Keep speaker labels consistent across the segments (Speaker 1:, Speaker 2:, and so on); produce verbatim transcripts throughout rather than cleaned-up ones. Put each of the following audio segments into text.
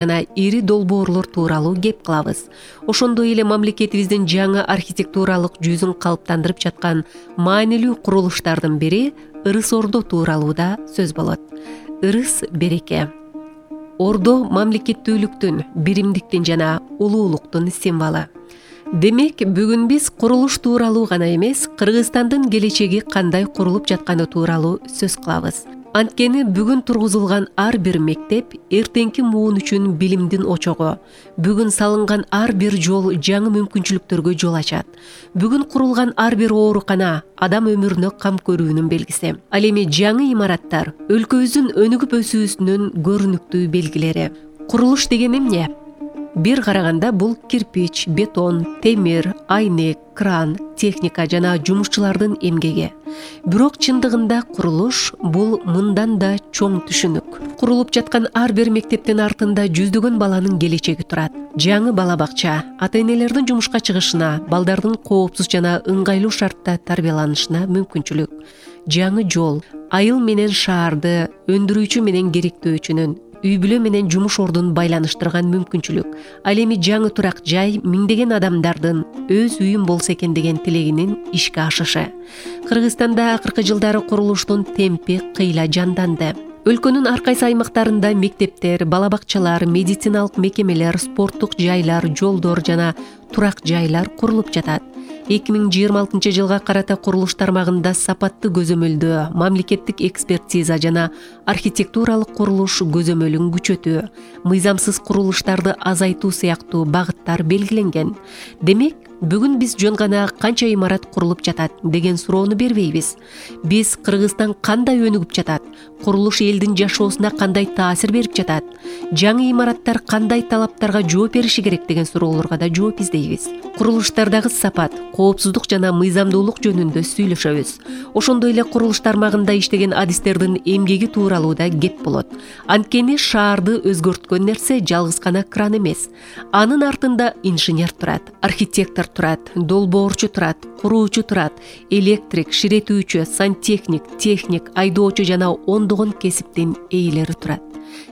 Speaker 1: жана ири долбоорлор тууралуу кеп кылабыз. Ошондой эле мамлекетибиздин жаңы архитектуралык жүзүн калыптандырып жаткан маанилүү курулуштардын бири Ырыс Ордо тууралуу да сөз болот. Ырыс — береке. Ордо мамлекеттүүлүктүн, биримдиктин жана улуулуктун символу. Демек, бүгүн биз курулуш тууралуу гана эмес, Кыргызстандын келечеги кандай курулуп жатканы тууралуу сөз кылабыз. Анткени бүгүн тургузулган ар бир мектеп эртеңки муун үчүн билимдин очогу. Бүгүн салынган ар бир жол жаңы мүмкүнчүлүктөргө жол ачат. Бүгүн курулган ар бир оорукана адам өмүрүнө кам көрүүнүн белгиси. Ал эми жаңы имараттар өлкөбүздүн өнүгүп өсүүсүнүн көрүнүктүү белгилери. Курулуш деген эмне? Бир караганда бул кирпич, бетон, темир, айнек, кран, техника жана жумушчулардын эмгеги. Бирок чындыгында курулуш бул мындан да чоң түшүнүк. Курулуп жаткан ар бир мектептин артында жүздөгөн баланын келечеги турат. Жаңы бала бакча, ата-энелердин жумушка чыгышына, балдардын коопсуз жана ыңгайлуу шартта тарбияланышына мүмкүнчүлүк. Жаңы жол, айыл менен шаарды, өндүрүүчү менен керектөөчүнүн, үй бүлө менен жумуш ордун байланыштырган мүмкүнчүлүк. Ал эми жаңы турак жай миңдеген адамдардын өз үйүм болсо экен деген тилегинин ишке ашышы. Кыргызстанда акыркы жылдары курулуштун темпи кыйла жанданды. Өлкөнүн ар кайсы аймактарында мектептер, бала бакчалар, медициналык мекемелер, спорттук жайлар, жолдор жана турак жайлар курулуп жатат. эки миң жыйырма алтынчы жылга карата курулуш тармагында сапаттуу көзөмөлдөө, мамлекеттик экспертиза жана архитектуралык курулуш көзөмөлүн күчөтүү, мыйзамсыз курулуштарды азайтуу сыяктуу багыттар белгиленген. Демек, бүгүн биз жөн гана канча имарат курулуп жатат деген суроону бербейбиз. Биз Кыргызстан кандай өнүгүп жатат? Курулуш элдин жашоосуна кандай таасир берип жатат? Жаңы имараттар кандай талаптарга жооп бериши керек деген суроолорго да жооп издейбиз. Курулуштардагы сапат, коопсуздук жана мыйзамдуулук жөнүндө сүйлөшөбүз. Ошондой эле курулуш тармагында иштеген адистердин эмгеги тууралуу да кеп болот. Анткени шаарды өзгөрткөн нерсе жалгыз гана кран эмес. Анын артында инженер турат, архитектор турат, долбоорчу турат, куруучу турат, электрик, ширетүүчү, сантехник, техник, айдоочу жана ондогон кесиптин ээлери турат.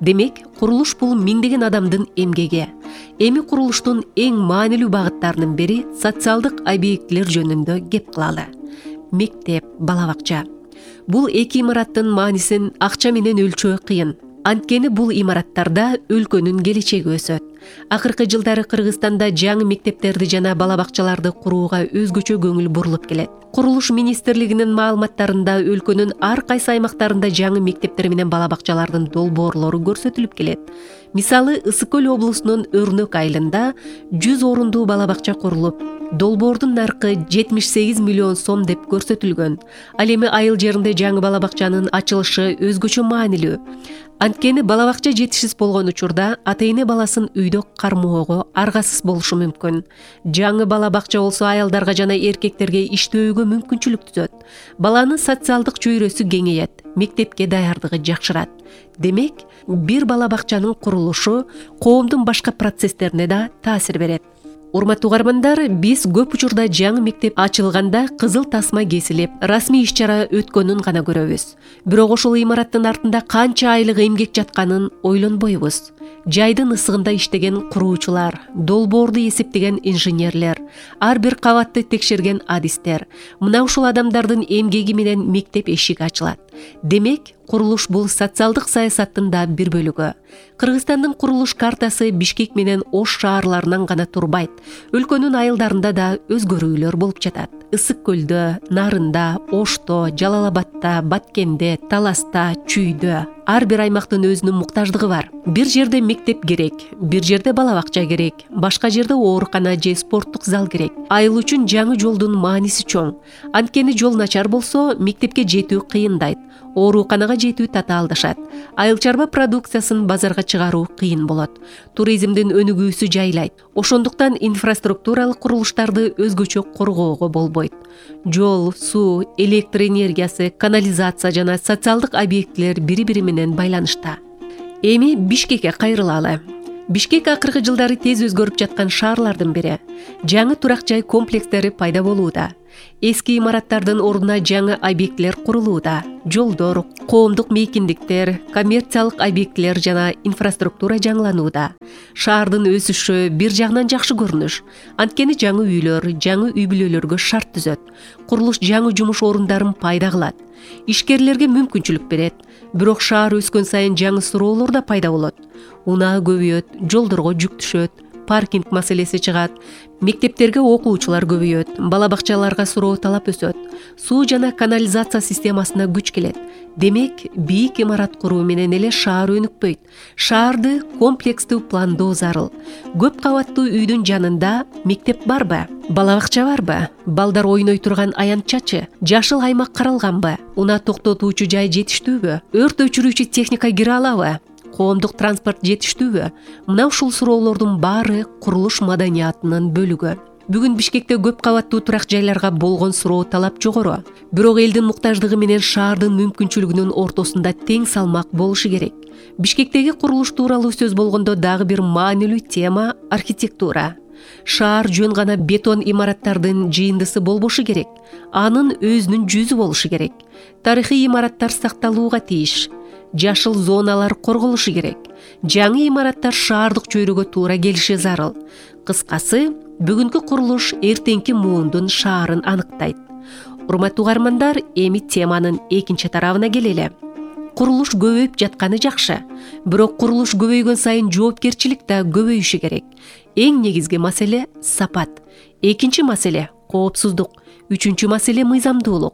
Speaker 1: Демек, курулуш бул миңдеген адамдын эмгеги. Эми курулуштун эң маанилүү багыттарынын бири социалдык объектилер жөнүндө кеп кылалы. Мектеп, бала бакча. Бул эки имараттын маанисин акча менен өлчөө кыйын. Анткени бул имараттарда өлкөнүн келечеги өсөт. Акыркы жылдары Кыргызстанда жаңы мектептерди жана бала бакчаларды курууга өзгөчө көңүл бурулуп келет. Курулуш министрлигинин маалыматтарында өлкөнүн ар кайсы аймактарында жаңы мектептер менен бала бакчалардын долбоорлору көрсөтүлүп келет. Мисалы, Ысык Көл облусунун Өрнөк айылында жүз орундуу бала бакча курулуп, долбоордун наркы жетимиш сегиз миллион сом деп көрсөтүлгөн. Ал эми айыл жеринде жаңы бала бакчанын ачылышы өзгөчө маанилүү. Анткени бала бакча жетишсиз болгон учурда ата-эне баласын үйдө кармоого аргасыз болушу мүмкүн. Жаңы бала бакча болсо аялдарга жана эркектерге иштөөгө мүмкүнчүлүк түзөт. Баланын социалдык чөйрөсү кеңейет, мектепке даярдыгы жакшырат. Демек, бир бала бакчанын курулушу коомдун башка процесстерине да таасир берет. Урматтуу угармандар, биз көп учурда жаңы мектеп ачылганда кызыл тасма кесилип, расмий иш-чара өткөнүн гана көрөбүз. Бирок ошол имараттын артында канча айлык эмгек жатканын ойлонбойбуз. Жайдын ысыгында иштеген куруучулар, долбоорду эсептеген инженерлер, ар бир кабатты текшерген адистер. Мына ушул адамдардын эмгеги менен мектеп эшиги ачылат. Демек, курулуш бул социалдык саясаттын да бир бөлүгү. Кыргызстандын курулуш картасы Бишкек менен Ош шаарларынан гана турбайт. Өлкөнүн айылдарында да өзгөрүүлөр болуп жатат. Ысык Көлдө, Нарында, Ошто, Жалал Абадта, Баткенде, Таласта, Чүйдө ар бир аймактын өзүнүн муктаждыгы бар. Бир жерде мектеп керек, бир жерде бала бакча керек, башка жерде оорукана же спорттук зал керек. Айыл үчүн жаңы жолдун мааниси чоң. Анткени жол начар болсо, мектепке жетүү кыйындайт. Ооруканага жетүү татаалдашат. Айыл чарба продукциясын базарга чыгаруу кыйын болот. Туризмдин өнүгүүсү жайлайт. Ошондуктан инфраструктуралык курулуштарды өзгөчө коргоого болбойт. Жол, суу, электр энергиясы, канализация жана социалдык объектилер бири-бири менен байланышта. Эми Бишкекке кайрылалы. Бишкек акыркы жылдары тез өзгөрүп жаткан шаарлардын бири. Жаңы турак жай комплекстери пайда болууда. Эски имараттардын ордуна жаңы объектилер курулууда. Жолдор, коомдук мейкиндиктер, коммерциялык объектилер жана инфраструктура жаңыланууда. Шаардын өсүшү бир жагынан жакшы көрүнүш. Анткени жаңы үйлөр, жаңы үй бүлөлөргө шарт түзөт. Курулуш жаңы жумуш орундарын пайда кылат. Ишкерлерге мүмкүнчүлүк берет. Бирок шаар өскөн сайын жаңы суроолор да пайда болот. Унаа көбөйөт, жолдорго жүк түшөт, паркинг маселеси чыгат, мектептерге окуучулар көбөйөт, бала бакчаларга суроо талап өсөт, суу жана канализация системасына күч келет. Демек, бийик имарат куруу менен эле шаар өнүкпөйт. Шаарды комплекстүү пландоо зарыл. Көп кабаттуу үйдүн жанында мектеп барбы? Бала бакча барбы? Балдар ойной турган аянтчачы? Жашыл аймак каралганбы? Унаа токтотуучу жай жетиштүүбү? Өрт өчүрүүчү техника кире алабы? Коомдук транспорт жетиштүүбү? Мына ушул суроолордун баары курулуш маданиятынын бөлүгү. Бүгүн Бишкекте көп кабаттуу турак жайларга болгон суроо талап жогору. Бирок элдин муктаждыгы менен шаардын мүмкүнчүлүгүнүн ортосунда тең салмак болушу керек. Бишкектеги курулуш тууралуу сөз болгондо дагы бир маанилүү тема — архитектура. Шаар жөн гана бетон имараттардын жыйындысы болбошу керек. Анын өзүнүн жүзү болушу керек. Тарыхый имараттар сакталууга тийиш. Жашыл зоналар корголушу керек. Жаңы имараттар шаардык чөйрөгө туура келиши зарыл. Кыскасы, бүгүнкү курулуш эртеңки муундун шаарын аныктайт. Урматтуу угармандар, эми теманын экинчи тарабына келели. Курулуш көбөйүп жатканы жакшы, бирок курулуш көбөйгөн сайын жоопкерчилик да көбөйүшү керек. Эң негизги маселе — сапат. Экинчи маселе — коопсуздук. Үчүнчү маселе — мыйзамдуулук.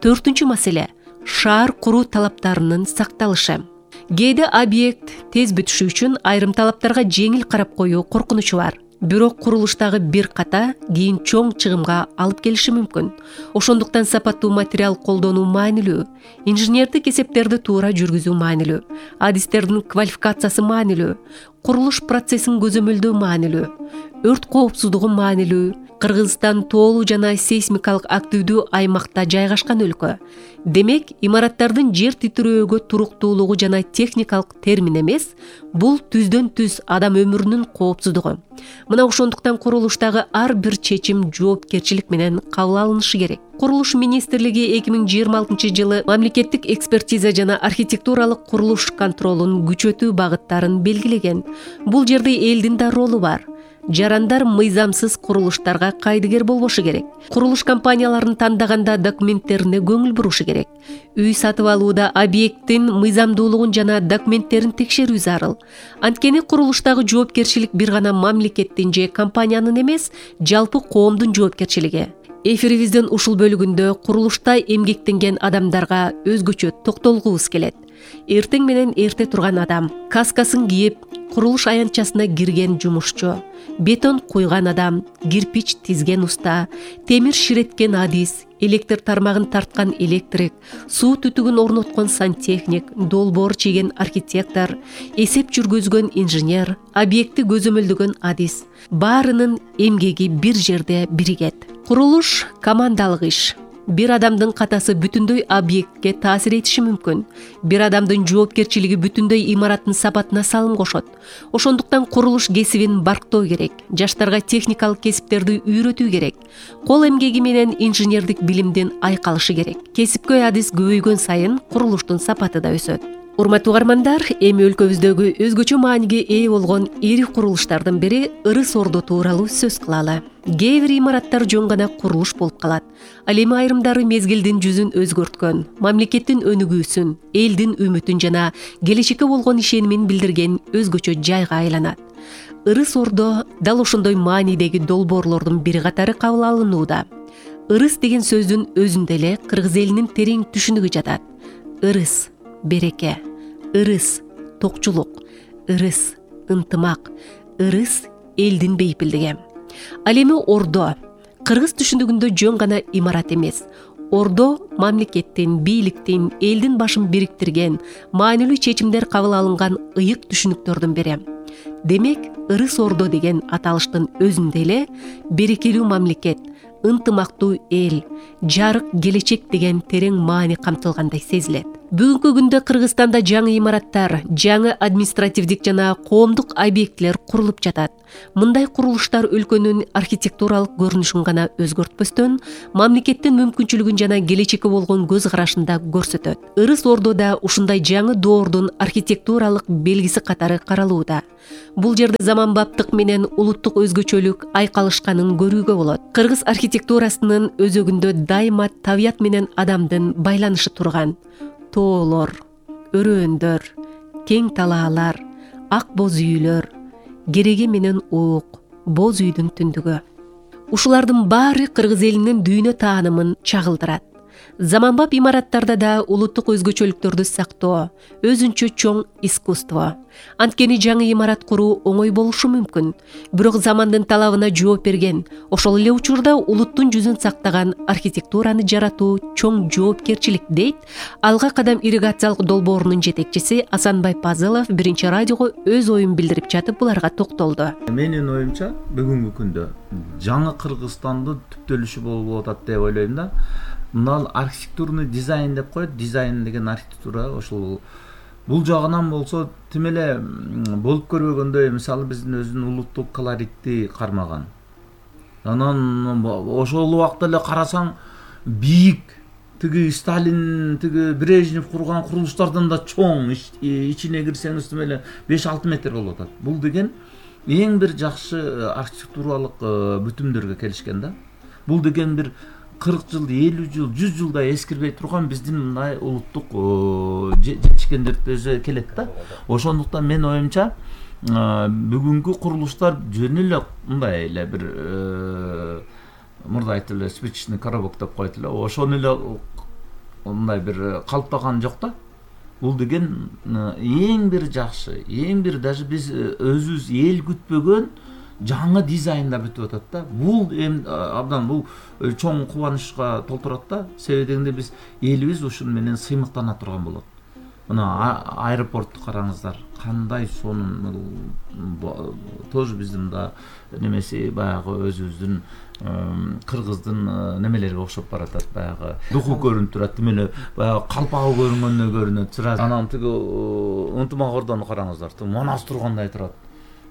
Speaker 1: Төртүнчү маселе — шаар куруу талаптарынын сакталышы. Кээде объект тез бүтүшү үчүн айрым талаптарга жеңил карап коюу коркунучу бар. Бирок курулуштагы бир ката кийин чоң чыгымга алып келиши мүмкүн. Ошондуктан сапаттуу материал колдонуу маанилүү, инженердик эсептерди туура жүргүзүү маанилүү, адистердин квалификациясы маанилүү, курулуш процессин көзөмөлдөө маанилүү, өрт коопсуздугу маанилүү. Кыргызстан тоолуу жана сейсмикалык активдүү аймакта жайгашкан өлкө. Демек, имараттардын жер титирөөгө туруктуулугу жана техникалык термин эмес, бул түздөн түз адам өмүрүнүн коопсуздугу. Мына ошондуктан курулуштагы ар бир чечим жоопкерчилик менен кабыл алынышы керек. Курулуш министрлиги эки миң жыйырма алтынчы жылы мамлекеттик экспертиза жана архитектуралык курулуш контролун күчөтүү багыттарын белгилеген. Бул жерде элдин да ролу бар. Жарандар мыйзамсыз курулуштарга кайдыгер болбошу керек. Курулуш компанияларын тандаганда документтерине көңүл бурушу керек. Үй сатып алууда объекттин мыйзамдуулугун жана документтерин текшерүү зарыл. Анткени курулуштагы жоопкерчилик бир гана мамлекеттин же компаниянын эмес, жалпы коомдун жоопкерчилиги. Эфирибиздин ушул бөлүгүндө курулушта эмгектенген адамдарга өзгөчө токтолгубуз келет. Эртең менен эрте турган адам, каскасын кийип, курулуш аянтчасына кирген жумушчу, бетон куйган адам, кирпич тизген уста, темир ширеткен адис, электр тармагын тарткан электрик, суу түтүгүн орноткон сантехник, долбоор чийген архитектор, эсеп жүргүзгөн инженер, объекти көзөмөлдөгөн адис. Баарынын эмгеги бир жерде биригет. Курулуш командалык иш. Бир адамдын катасы бүтүндөй объектке таасир этиши мүмкүн. Бир адамдын жоопкерчилиги бүтүндөй имараттын сапатына салым кошот. Ошондуктан курулуш кесибин барктоо керек. Жаштарга техникалык кесиптерди үйрөтүү керек. Кол эмгеги менен инженердик билимдин айкалышы керек. Кесипкөй адис көбөйгөн сайын курулуштун сапаты да өсөт. Урматтуу угармандар, эми өлкөбүздөгү өзгөчө мааниге ээ болгон ири курулуштардын бири Ырыс Ордо тууралуу сөз кылалы. Кээ бир имараттар жөн гана курулуш болуп калат. Ал эми айрымдары мезгилдин жүзүн өзгөрткөн, мамлекеттин өнүгүүсүн, элдин үмүтүн жана келечекке болгон ишенимин билдирген өзгөчө жайга айланат. Ырыс Ордо дал ошондой маанидеги долбоорлордун бири катары кабыл алынууда. Ырыс деген сөздүн өзүндө эле кыргыз элинин терең түшүнүгү жатат. Ырыс — береке, ырыс — токчулук, ырыс — ынтымак, ырыс — элдин бейпилдиги. Ал эми ордо кыргыз түшүнүгүндө жөн гана имарат эмес. Ордо мамлекеттин, бийликтин, элдин башын бириктирген, маанилүү чечимдер кабыл алынган ыйык түшүнүктөрдүн бири. Демек, Ырыс Ордо деген аталыштын өзүндө эле берекелүү мамлекет, ынтымактуу эл, жарык келечек деген терең маани камтылгандай сезилет. Бүгүнкү күндө Кыргызстанда жаңы имараттар, жаңы административдик жана коомдук объектилер курулуп жатат. Мындай курулуштар өлкөнүн архитектуралык көрүнүшүн гана өзгөртпөстөн, мамлекеттин мүмкүнчүлүгүн жана келечекке болгон көз карашын да көрсөтөт. Ырыс Ордода ушундай жаңы доордун архитектуралык белгиси катары каралууда. Бул жерде заманбаптык менен улуттук өзгөчөлүк айкалышканын көрүүгө болот. Кыргыз архитектурасынын өзөгүндө дайыма табият менен адамдын байланышы турган. Тоолор, өрөөөндөр, кең талаалар, ак боз үйлөр, кереге менен уук, боз үйдүн түндүгү. Ушулардын баары кыргыз элинин дүйнө таанымын чагылдырат. Заманбап имараттарда да улуттук өзгөчөлүктөрдү сактоо өзүнчө чоң искусство. Анткени жаңы имарат куруу оңой болушу мүмкүн, бирок замандын талабына жооп берген, ошол эле учурда улуттун жүзүн сактаган архитектураны жаратуу чоң жоопкерчилик, дейт Алга кадам ирригациялык долбоорунун жетекчиси Асанбай Пазылов Биринчи радиого өз оюн билдирип жатып буларга токтолду.
Speaker 2: Менин оюмча бүгүнкү күндө жаңы Кыргызстандын түптөлүшү болуп атат деп ойлойм да. Мына архитектурный дизайн деп коет, дизайн деген архитектура ошол бул жагынан болсо тим эле болуп көрбөгөндөй, мисалы биздин өзүнүн улуттук колоритти кармаган. Анан ошол убакта эле карасаң бийик, тиги Сталин, тиги Брежнев курган курулуштардан да чоң, ичине кирсеңиз тим эле беш алты метр болуп атат. Бул деген эң бир жакшы архитектуралык бүтүмдөргө келишкен да. Бул деген бир кырк жыл, элүү жыл, жүз жылдай эскирбей турган биздин мындай улуттук жетишкендерибизге келет да. Ошондуктан мен оюмча бүгүнкү курулуштар жөн эле мындай эле бир мурда айтып эле спичечный коробок деп коет эле, ошону эле мындай бир калыптаган жок да. Бул деген эң бир жакшы, эң бир даже биз өзүбүз эл күтпөгөн жаңы дизайнда бүтүп атат да. Бул эми абдан бул чоң кубанычка толтурат да. Себеби дегенде биз элибиз ушун менен сыймыктана турган болот. Мына аэропортду караңыздар, кандай сонун тоже биздин да немеси баягы өзүбүздүн кыргыздын немелерге окшоп баратат, баягы духу көрүнүп турат, тим эле баягы калпагы көрүнгөндөй көрүнөт сразу. Анан тиги ынтымак ордону караңыздар, манас тургандай турат.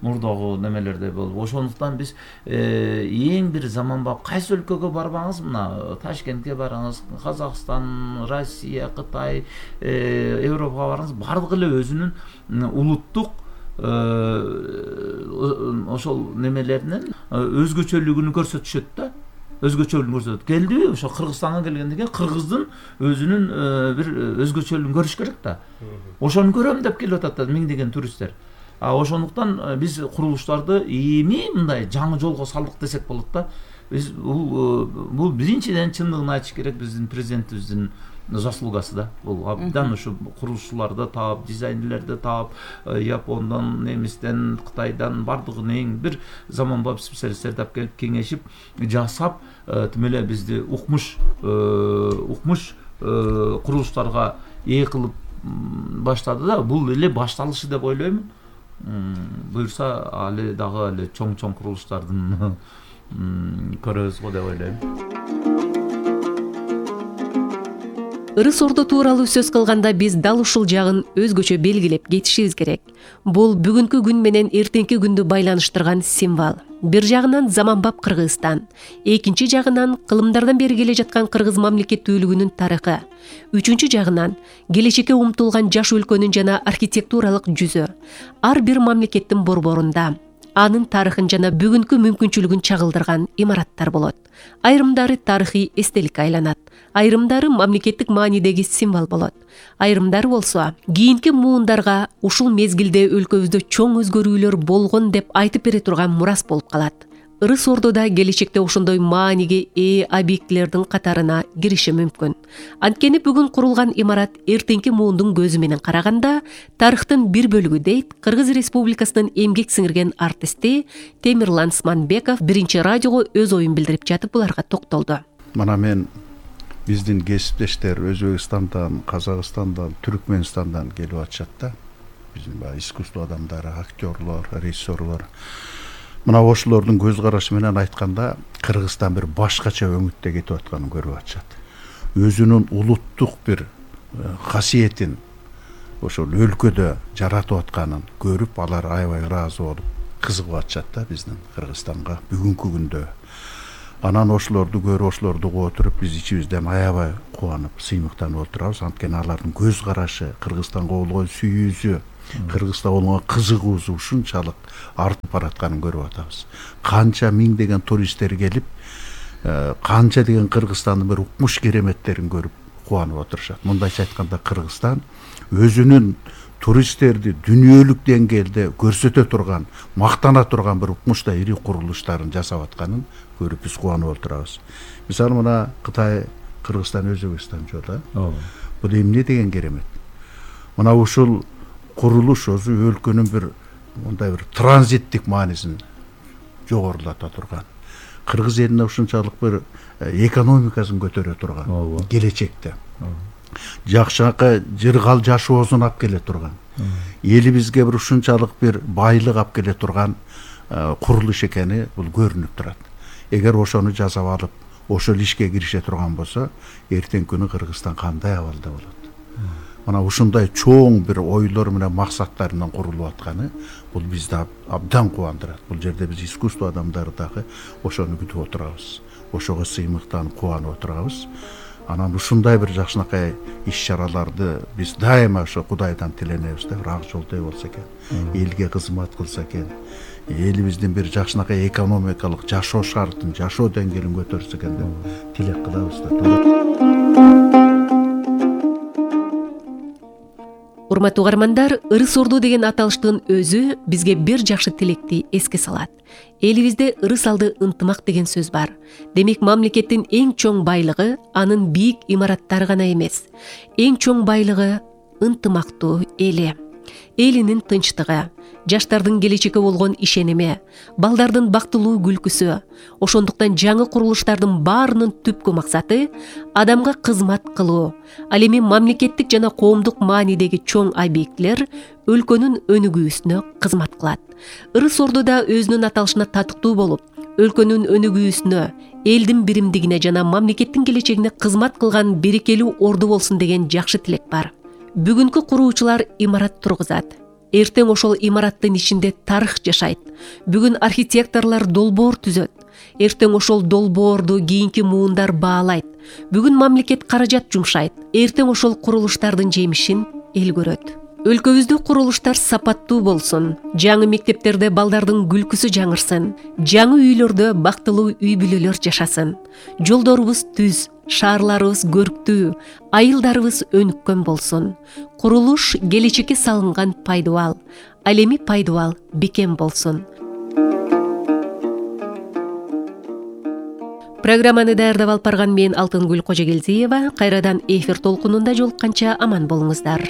Speaker 2: Мурдагы немелерде болуп. Ошондуктан биз эң бир заманбап кайсы өлкөгө барбаңыз, мына Ташкентке барыңыз, Казакстан, Россия, Кытай, Европага барыңыз, бардыгы эле өзүнүн улуттук ошол немелеринин өзгөчөлүгүн көрсөтүшөт да. Өзгөчөлүгүн көрсөтөт. Келдиби, ошо Кыргызстанга келгенден кийин Кыргыздын өзүнүн бир өзгөчөлүгүн көрүш керек да. Ошону көрөм деп келип атат да миңдеген туристтер. А ошондуктан биз курулуштарды эми мындай жаңы жолго салдык десек болот да. Биз бул бул биринчиден чындыгын айтыш керек, биздин президентибиздин заслугасы да. Бул абдан ушу курулушчуларды таап, дизайнерлерди таап, Япондан, немистен, Кытайдан бардыгын эң бир заманбап специалисттерди алып келип кеңешип жасап, тим эле бизди укмуш укмуш курулуштарга ээ кылып баштады да. Бул эле башталышы деп ойлойм. Буюрса али дагы эле чоң-чоң курулуштардын көрөбүз го деп ойлойм.
Speaker 1: Ырыс Ордо тууралуу сөз кылганда биз дал ушул жагын өзгөчө белгилеп кетишибиз керек. Бул бүгүнкү күн менен эртеңки күндү байланыштырган символ. Бир жагынан заманбап Кыргызстан, экинчи жагынан кылымдардан бери келе жаткан кыргыз мамлекеттүүлүгүнүн тарыхы, үчүнчү жагынан келечекке умтулган жаш өлкөнүн жана архитектуралык жүзү. Ар бир мамлекеттин борборунда анын тарыхын жана бүгүнкү мүмкүнчүлүгүн чагылдырган имараттар болот. Айрымдары тарыхый эстеликке айланат, айрымдары мамлекеттик маанидеги символ болот. Айрымдары болсо кийинки муундарга ушул мезгилде өлкөбүздө чоң өзгөрүүлөр болгон деп айтып бере турган мурас болуп калат. Ырыс Ордода келечекте ошондой мааниге ээ объектилердин катарына кириши мүмкүн. Анткени бүгүн курулган имарат эртеңки муундун көзү менен караганда тарыхтын бир бөлүгү, дейт Кыргыз Республикасынын эмгек сиңирген артисти Темирлан Сманбеков Биринчи радиого өз оюн билдирип жатып буларга токтолду.
Speaker 3: Мына мен биздин кесиптештер Өзбекстандан, Казакстандан, Түркмөнстандан келип атышат да. Биздин баягы искусство адамдары, актерлор, режиссерлор. Мына ошолордун көз карашы менен айтканда Кыргызстан бир башкача өңүттө кетип атканын көрүп атышат. Өзүнүн улуттук бир касиетин ошол өлкөдө жаратып атканын көрүп, алар аябай ыраазы болуп кызыгып атышат да биздин Кыргызстанга бүгүнкү күндө. Анан ошолорду көрүп, ошолорду угуп отуруп, биз ичибизден аябай кубанып, сыймыктанып отурабыз. Анткени алардын көз карашы, Кыргызстанга болгон сүйүүсү, Кыргызстанга болгон кызыгуусу ушунчалык артып баратканын көрүп атабыз. Канча миңдеген туристтер келип, канча деген Кыргызстандын бир укмуш кереметтерин көрүп кубанып отурушат. Мындайча айтканда, Кыргызстан өзүнүн туристтерди дүйнөлүк деңгээлде көрсөтө турган, мактана турган бир укмуштай ири курулуштарын жасап атканын көрүп биз кубанып отурабыз. Мисалы мына Кытай, Кыргызстан, Өзбекстан жолу. Бул эмне деген керемет. Мына ушул курулуш өзү өлкөнүн бир мындай бир транзиттик маанисин жогорулата турган. Кыргыз элине ушунчалык бир экономикасын көтөрө турган, келечекте жакшынакай жыргал жашоосун алып келе турган, элибизге бир ушунчалык бир байлык алып келе турган курулуш экени бул көрүнүп турат. Эгер ошону жасап алып, ошол ишке кирише турган болсо, эртең күнү Кыргызстан кандай абалда болот? Мына ушундай чоң бир ойлор менен максаттар менен курулуп атканы бул бизди абдан кубандырат. Бул жерде биз искусство адамдары дагы ошону күтүп отурабыз. Ошого сыймыктанып кубанып отурабыз. Анан ушундай бир жакшынакай иш-чараларды биз дайыма ошо Кудайдан тиленебиз да, бир ак жолдой болсо экен, элге кызмат кылса экен, элибиздин бир жакшынакай экономикалык жашоо шартын, жашоо деңгээлин көтөрсө экен деп тилек кылабыз да.
Speaker 1: Урматтуу угармандар, ырыс орду деген аталыштын өзү бизге бир жакшы тилекти эске салат. Элибизде ырыс алды ынтымак деген сөз бар. Демек, мамлекеттин эң чоң байлыгы анын бийик имараттары гана эмес. Эң чоң байлыгы ынтымактуу эли. Элинин тынчтыгы, жаштардын келечекке болгон ишеними, балдардын бактылуу күлкүсү. Ошондуктан жаңы курулуштардын баарынын түпкү максаты адамга кызмат кылуу. Ал эми мамлекеттик жана коомдук маанидеги чоң объектилер өлкөнүн өнүгүүсүнө кызмат кылат. Ырыс орду да өзүнүн аталышына татыктуу болуп, өлкөнүн өнүгүүсүнө, элдин биримдигине жана мамлекеттин келечегине кызмат кылган берекелүү орду болсун деген жакшы тилек бар. Бүгүнкү куруучулар имарат тургузат. Эртең ошол имараттын ичинде тарых жашайт. Бүгүн архитекторлор долбоор түзөт. Эртең ошол долбоорду кийинки муундар баалайт. Бүгүн мамлекет каражат жумшайт. Эртең ошол курулуштардын жемишин эл көрөт. Өлкөбүздө курулуштар сапаттуу болсун. Жаңы мектептерде балдардын күлкүсү жаңырсын. Жаңы үйлөрдө бактылуу үй бүлөлөр жашасын. Жолдорубуз түз, шаарларыбыз көрктүү, айылдарыбыз өнүккөн болсун. Курулуш келечекке салынган пайдубал, ал эми пайдубал бекем болсун. Программаны даярдап алып барган мен Алтынгүл Кожогелдиева. Кайрадан эфир толкунунда жолукканча аман болуңуздар.